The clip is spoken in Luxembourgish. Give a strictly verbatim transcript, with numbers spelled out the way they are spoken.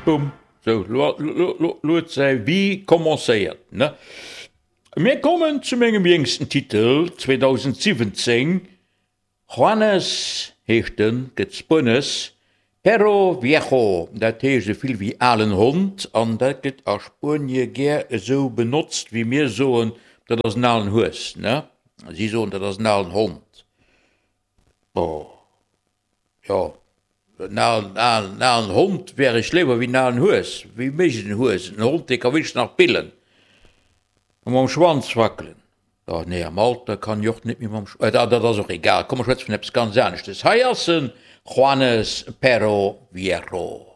Bumm, sou, lo, lo, lo, lo huet säi Vie commencéiert, ne? Mir kommen zu mengem jéngsten Titel, zweedausendsiwwenzéng, Juanes heescht en, gëtt spuenesch, Perro Viejo, dat heescht esou vill wéi alen Hond, an dat gëtt a Spuenie gär esou benotzt, wéi mir soen, dat ass en alen Hues, ne? Si soen, dat ass en alen Hond. Bon, jo, en alen, alen, alen Hond wär ech léiwer wéi en alen Hues. Wéi mécht en Hues? En Hond, dee ka wéinstens nach billen a mam Schwanz wackelen. Oh nee, am Alter kann ech och net méi mam Sch-, dat ass och egal. Komm, mer schwätze vun eppes ganz aneschtes. Hei ass en, Juanes Perro Viejo.